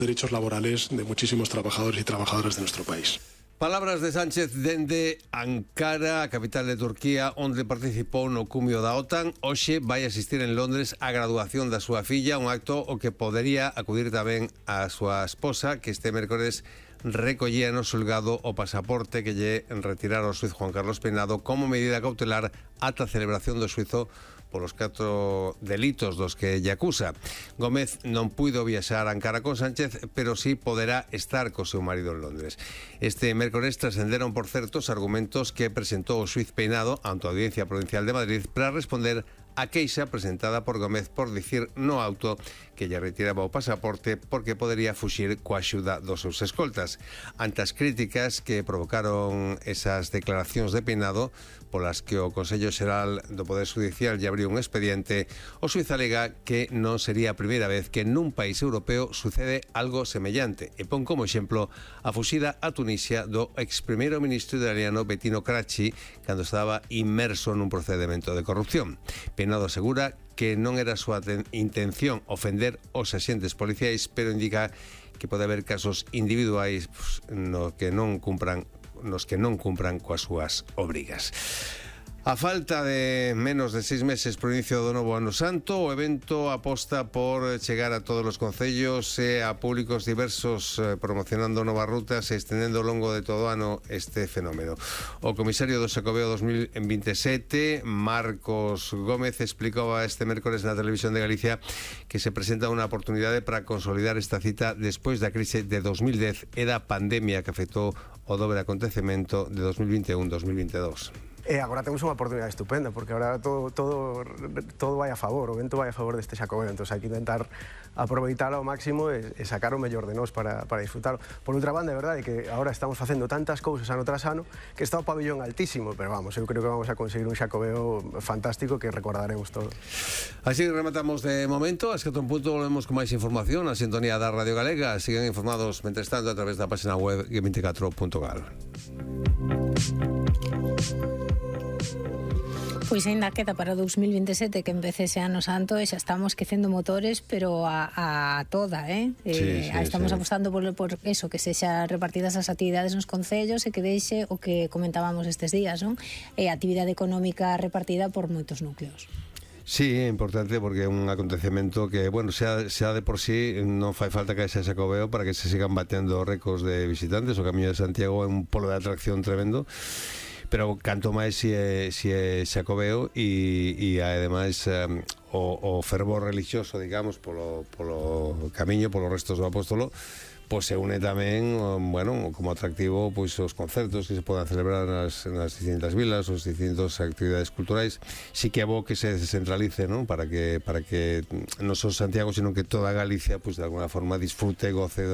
derechos laborales de muchísimos trabajadores y trabajadoras de nuestro país. Palabras de Sánchez dende Ankara, a capital de Turquía, onde participou no cumio da OTAN. Hoxe vai asistir en Londres á graduación da súa filla, un acto o que podería acudir tamén a súa esposa, que este mércores recollía no xulgado o pasaporte que lle retirara o xuiz Juan Carlos Peinado como medida cautelar ata a celebración do xuizo polos 4 delitos dos que lle acusa. Gómez non puido viaxar a Ankara con Sánchez, pero sí poderá estar co seu marido en Londres. Este mércores trascenderon, por certo, os argumentos que presentou o xuiz Peinado ante a Audiencia Provincial de Madrid para responder a queixa presentada por Gómez por dicir no auto que lle retiraba o pasaporte porque podería fuxir coa axuda dos seus escoltas. Ante as críticas que provocaron esas declaracións de Peinado, polas que o Consello Xeral do Poder Judicial lle abriu un expediente, o xuiz alega que non sería a primeira vez que nun país europeo sucede algo semellante e pon como exemplo a fuxida a Tunisia do ex primeiro ministro italiano Bettino Craxi cando estaba inmerso nun procedimento de corrupción. Peinado asegura que non era a súa intención ofender os axentes policiais, pero indica que pode haber casos individuais nos que non cumpran coas súas obrigas. A falta de menos de 6 meses pro inicio do novo ano santo, o evento aposta por chegar a todos os concellos e a públicos diversos, promocionando novas rutas e estendendo ao longo de todo o ano este fenómeno. O comisario do Xacobeo 2027, Marcos Gómez, explicaba este mércores na Televisión de Galicia que se presenta unha oportunidade para consolidar esta cita despois da crise de 2010 e da pandemia que afectou o dobre acontecemento de 2021-2022. E agora temos unha oportunidade estupenda, porque agora todo vai a favor, o vento vai a favor deste Xacobeo, entón hai que intentar aproveitar ao máximo e sacar o mellor de nós para disfrutar. Por outra banda, é verdade que agora estamos facendo tantas cousas ano tras ano que está o pabillón altísimo, pero vamos, eu creo que vamos a conseguir un Xacobeo fantástico que recordaremos todo. Así rematamos de momento, a escato un punto volvemos con máis información na sintonía da Radio Galega. Sigan informados, mentres tanto, a través da página web g24.gal. Pois ainda queda para 2027 que empece ese ano santo e xa estamos quecendo motores, pero a toda, estamos apostando por eso, que sexa repartidas as actividades nos concellos e que deixe o que comentábamos estes días, non? A actividade económica repartida por moitos núcleos. Sí, é importante porque é un acontecemento que, bueno, xa de por sí non fai falta que haxa Xacobeo para que se sigan batendo récords de visitantes. O Camiño de Santiago é un polo de atracción tremendo, pero canto máis si é Xacobeo e ademais o fervor religioso, digamos, polo camiño, polos restos do apóstolo, pois se une tamén, bueno, como atractivo, pois os concertos que se podan celebrar nas distintas vilas, os distintas actividades culturais. Sí que é bo que se descentralice, non? Para que non só Santiago, sino que toda Galicia, pois de alguna forma disfrute e goce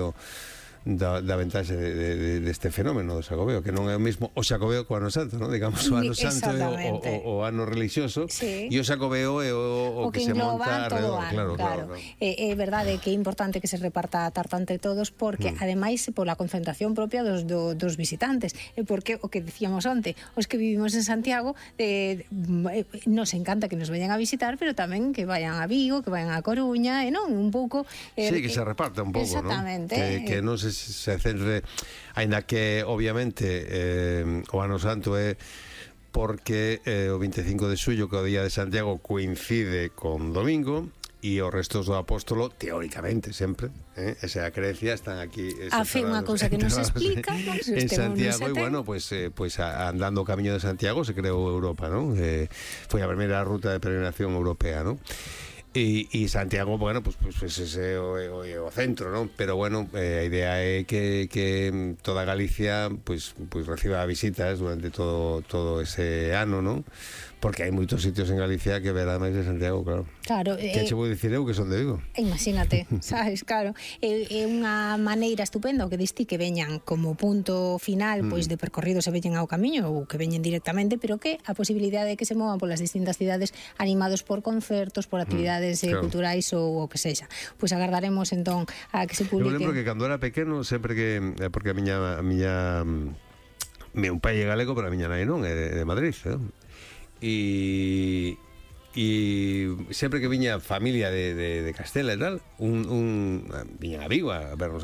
da ventaxe deste fenómeno do Xacobeo, que non é o mesmo o Xacobeo co ano santo, non? Digamos, o ano santo é o ano religioso, e o Xacobeo é o que se monta alrededor. Claro. É verdade que é importante que se reparta a tarta entre todos, porque ademais pola concentración propia dos visitantes, e porque o que dicíamos onte, os que vivimos en Santiago nos encanta que nos veñan a visitar, pero tamén que vayan a Vigo, que vayan a Coruña, e non, un pouco sí, que se reparta un pouco, non? Que non se centre, aínda que obviamente o ano santo é porque o 25 de xullo, que o día de Santiago coincide con domingo, e os restos do apóstolo, teóricamente, sempre, esa creencia, están aquí a fe unha cousa que non se explica en Santiago, e bueno, pues andando o Camiño de Santiago se creou Europa, non? Foi a primeira ruta de peregrinación europea, non? E Santiago, bueno, pues ese é o centro, non? Pero bueno, a idea é que toda Galicia pues reciba visitas durante todo ese ano, non? Porque hai moitos sitios en Galicia que verá máis de Santiago, claro. Claro. Que che vou dicir eu que son de Vigo. Imagínate, sabes, claro. É unha maneira estupenda o que diste que veñan como punto final, pois de percorrido se veñen ao camiño ou que veñen directamente, pero que a posibilidade de que se movan polas distintas cidades animados por concertos, por actividades culturais ou o que sexa. Pois agardaremos entón a que se publique. Eu lembro que cando era pequeno, sempre que porque a miña meu pai é galego, pero a miña nai non, é de Madrid, e sempre que viña familia de Castela e tal, viñan a Vigo a vernos